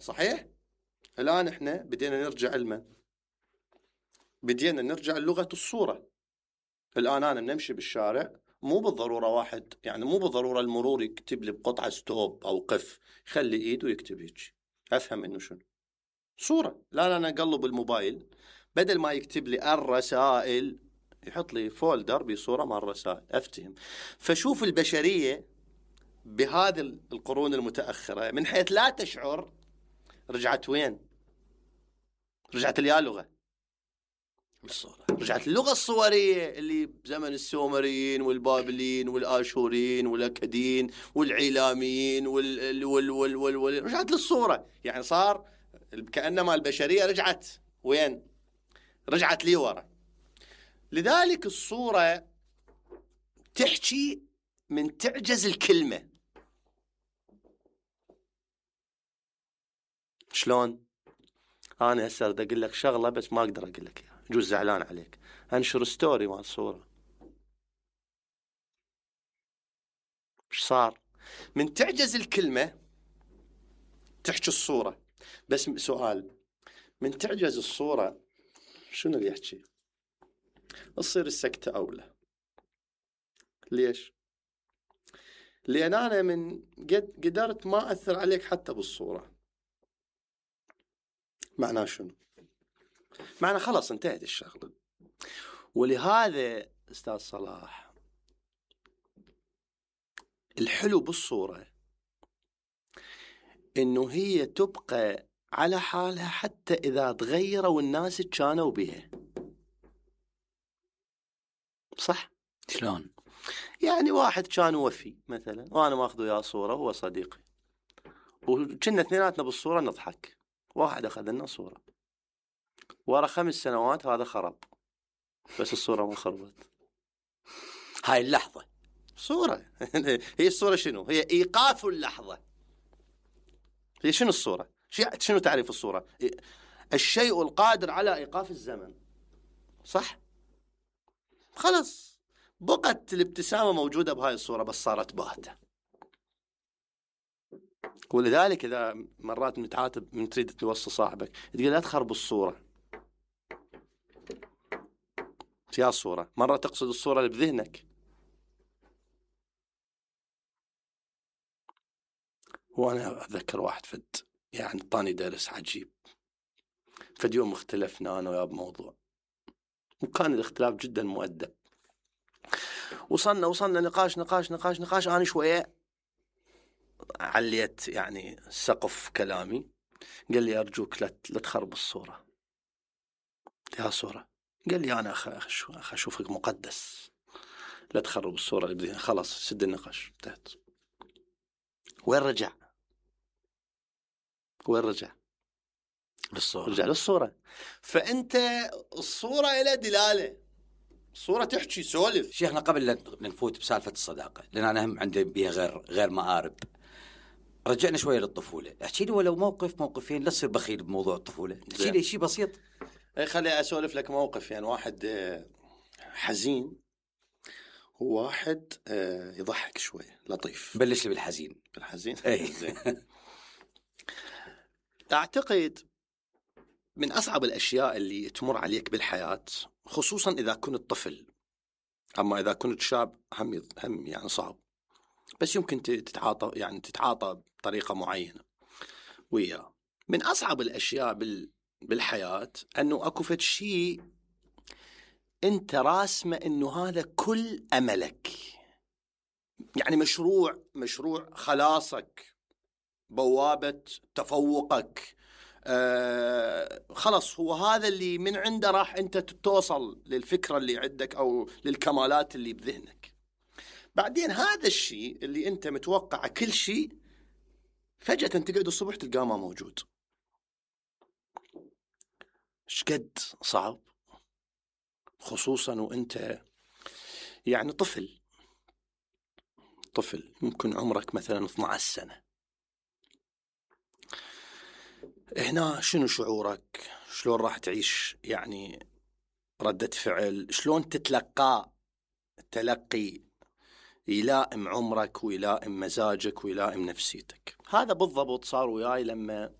صحيح؟ الآن احنا بدينا نرجع للغة الصورة. الآن أنا نمشي بالشارع، مو بالضرورة واحد، يعني مو بالضرورة المرور يكتب لي بقطعة ستوب أو قف، خلي إيده ويكتب هيك أفهم إنه شنو صورة. لا أنا أقلب الموبايل، بدل ما يكتب لي الرسائل يحط لي فولدر بصورة مع الرسائل، أفتهم. فشوف البشرية بهذه القرون المتأخرة من حيث لا تشعر رجعت وين؟ رجعت اليالغة بالصورة، رجعت اللغة الصورية اللي بزمن السومريين والبابليين والآشوريين والأكديين والعيلاميين رجعت للصورة. يعني صار كأنما البشرية رجعت وين؟ رجعت لي ورا. لذلك الصورة تحكي من تعجز الكلمة. شلون؟ أنا هسه أريد أقول لك شغلة بس ما أقدر أقول لك إياها، جوز زعلان عليك، أنشر ستوري مع الصورة. إيش صار؟ من تعجز الكلمة تحكي الصورة. بس سؤال، من تعجز الصورة شنو اللي يحكي؟ تصير السكتة أولى. ليش؟ لأن أنا من قدرت ما أثر عليك حتى بالصورة. معناه شنو؟ معناه خلاص انتهت الشغلة. ولهذا أستاذ صلاح الحلو بالصورة إنه هي تبقى على حالها حتى إذا تغيروا الناس كانوا بها. صح؟ شلون؟ يعني واحد كان وفي مثلا وأنا ماخذ وياه صورة، هو صديقي وكنا اثنيناتنا بالصورة نضحك، واحد أخذ لنا صورة، ورا 5 سنوات هذا خرب، بس الصورة ما خربت. هاي اللحظة صورة. هي الصورة شنو؟ هي إيقاف اللحظة. هي شنو الصورة؟ شنو تعريف الصورة؟ الشيء القادر على إيقاف الزمن. صح؟ خلص بقت الابتسامة موجودة بهاي الصورة بس صارت باهتة. ولذلك إذا مرات متعاتب من تريد توصي صاحبك تقول لا تخرب الصورة، فيها الصورة، مرة تقصد الصورة اللي بذهنك. وأنا أذكر واحد يعني طاني درس عجيب، فد يوم اختلفنا أنا وياه بموضوع، وكان الاختلاف جدا مؤدب، وصلنا نقاش أنا شوية عليت يعني سقف كلامي. قال لي أرجوك لا تخرب الصورة. يا صورة، قال لي أنا أشوفك مقدس، لا تخرب الصورة اللي بدينا. خلاص سد النقاش، انتهت. وين رجع للصورة؟ رجع للصورة. فأنت الصورة إلى دلالة، الصورة تحكي سولف. شيخنا قبل لا نفوت بسالفة الصداقة، لأن أنا هم عندي بيها غير مآرب، رجعنا شوية للطفولة. احكي لي ولو موقفين، لا تصير بخيل بموضوع الطفولة، احكي لي شيء بسيط. خلي أسولف لك موقف. يعني واحد حزين وواحد يضحك شوية لطيف. بلش لي بالحزين. أعتقد من أصعب الأشياء اللي تمر عليك بالحياة، خصوصا إذا كنت طفل، أما إذا كنت شاب هم يعني صعب، بس يمكن تتعاطى بطريقة معينة وياه. من أصعب الأشياء بالحياة أنه أكو فد شيء أنت راسمه أنه هذا كل أملك، يعني مشروع خلاصك، بوابة تفوقك، خلص هو هذا اللي من عنده راح أنت توصل للفكرة اللي عندك أو للكمالات اللي بذهنك. بعدين هذا الشيء اللي أنت متوقع كل شيء فجأة تقعد الصبح تلقاه ما موجود. شقد صعب، خصوصا وأنت يعني طفل ممكن عمرك مثلا 12 سنة. هنا شنو شعورك؟ شلون راح تعيش يعني ردة فعل؟ شلون تتلقى تلقي يلائم عمرك ويلائم مزاجك ويلائم نفسيتك؟ هذا بالضبط صار وياي لما